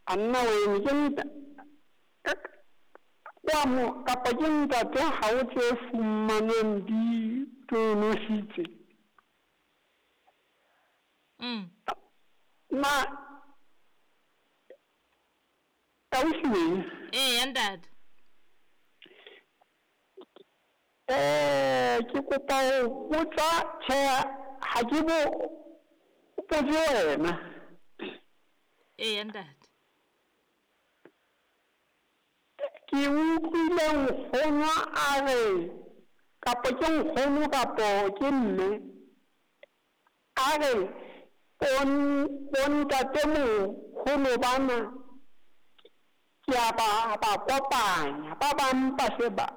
A nna wene ke nta kwa mo kapa ke ntate ha o tse fumanweng di tonositse. Na ausi wena? Eya ntate. Ke kopa ho botsa tjhe ha ke bo botse wena. Eya ntate. Ke utlwile nkgono a re kapa ke nkgono kapo ke mme a re bontatemoholo bana ke a ba kopanya ba bang ba se ba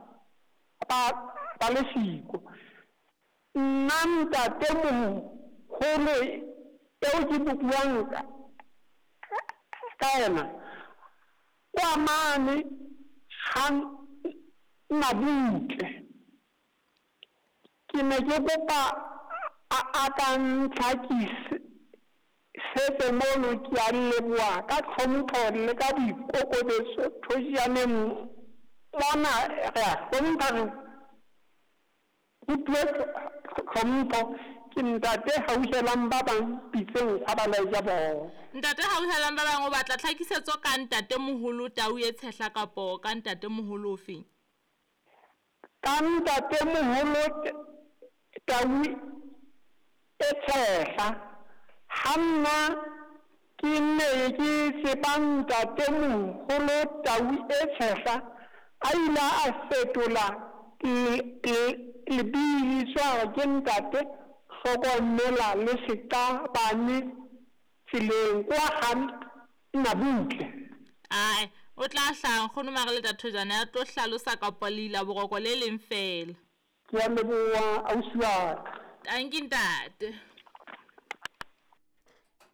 le siko. Nna ntatemoholo eo ke buang ka yena kwa mane ha Mabutle. Ke ne ke kopa a ka ntlhakisetse mono, ke a leboha ka tlhompho le ka boikokobetso thojaneng mona re a hlompha re rutuwe tlhompho. Ke ntate hauhelang ba bang pitseng gwa ba laetja bona. Ntate hauhelang ba bang o batla tlhakisetso ka ntate moholo Tau e Tshehla kapo ka ntate moholo ofeng? Ka ntate moholo Tau e Tshehla. Ha nna ke ne ke tseba ntate moholo Tau e Tshehla a ile a fetola lebitso a re ke ntate hlokomela le seqabane tseleng kwa ga Nabutle. Ae, o tla hlaha nkgono Mareleta Thojane a tlo hlalosa kapa leila boroko le leng fela. Ke a leboha ausi wa ka. Tanki ntate.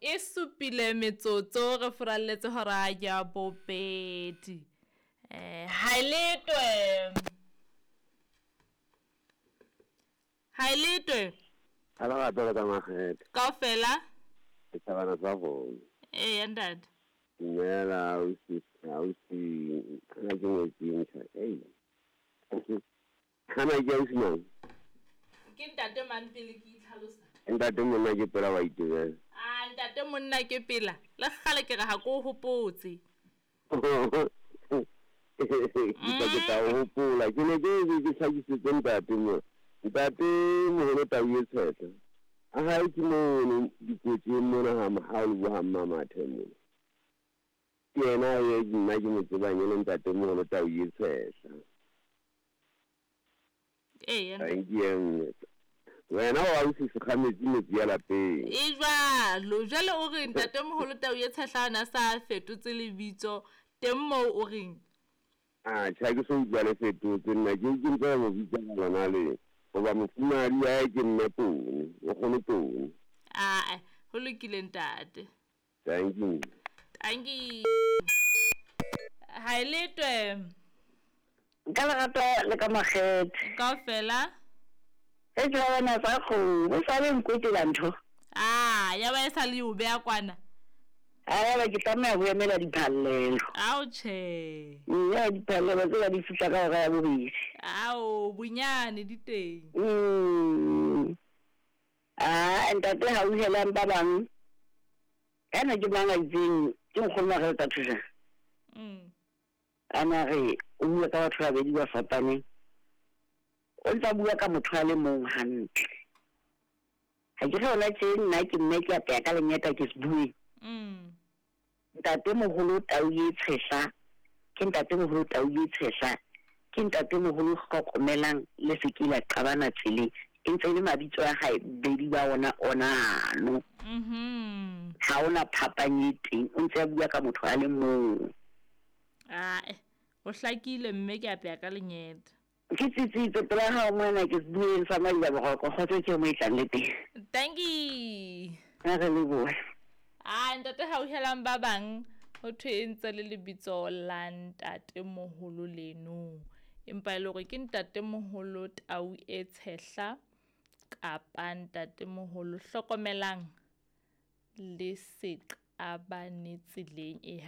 E supile metsotso re furalletse hora ya bobedi. Haeletwe. Haeletwe. Ala ga tsela ka makgethe. Kaofela? Ke thabana tsa bona. Eya ntate. Dumela ausi, ausi, kana ke ngwetsi ntjha. Ei. Kana ke ausi mang? Ke ntate mang pele ke itlhalosa? Ntate monna ke pela wa itebela. Ah, ntate monna ke pela. Le kgale ke re ha ko hopotse. Ke tla o hopola. Ke ne ke ke hlakisetse ntate mo. Ntate moholo Tau e Tshehla. A hae ke mono dikotsing mona ha mahao le ha mmamathe mona. Ke yena e nna ke mo tsebang e le ntate moholo Tau e Tshehla. Eya. Thank you. Wena wa ausi sekgametsi metsi ya lapeng. E jwalo, jwale o re ntate moholo Tau e Tshehla ona sa fetotse lebitso teng moo o reng? Ah, tjhe ke so utlwa le fetotse nna ke ntse mo bitsa lona le. Hoba mofumahadi wa hae ke mme Tone, o kgone Tone. Ae, ho lokile ntate. Thank you. Thank you. Haeletwe. Ka lerato le ka makgethe. Kaofela? E ke bona tsa kgomo, o sa le nkwetela ntho. Ah, ya ba e sa le o beya kwana. A ba ke tlameha ho emela diphallelo. Ao tjhe. Ya diphallelo tse di fihla ka hora ya bobedi. Ao bonyane di teng. Ah, ntate hauhelang ba bang. Kana ke mang a itseng ke nkgono Mareleta Thojane. Ana re o bua ka batho ba babedi ba fapaneng. O ntsa bua ka motho a le mong hantle. Ha ke re hona tje nna ke mme ke apeya ka lenyata ke se bueng. Ntate moholo Tau e Tshehla ke ntate moholo Tau e Tshehla ke ntate moholo hlokomelang le se ke la qabana tseleng e ntse le mabitso a hae bedi ba ona onano. Ha ona phapang e teng, o ntse a bua ka motho a le mong. Ae, o hlakile mme ke apeya ka lenyeta. Ke tsitsitse pela hao mona ke bueng sa Maila Boroko, kgotso ke mo e tlang le teng. Thank you. A re lebohe. Ah, ntate hauhelang ba bang ho thwe e ntse le lebitso la ntate moholo leno. Empa e le hore ke ntate moholo Tau e Tshehla kapa ntate moholo hlokomelang le seqabane tseleng e.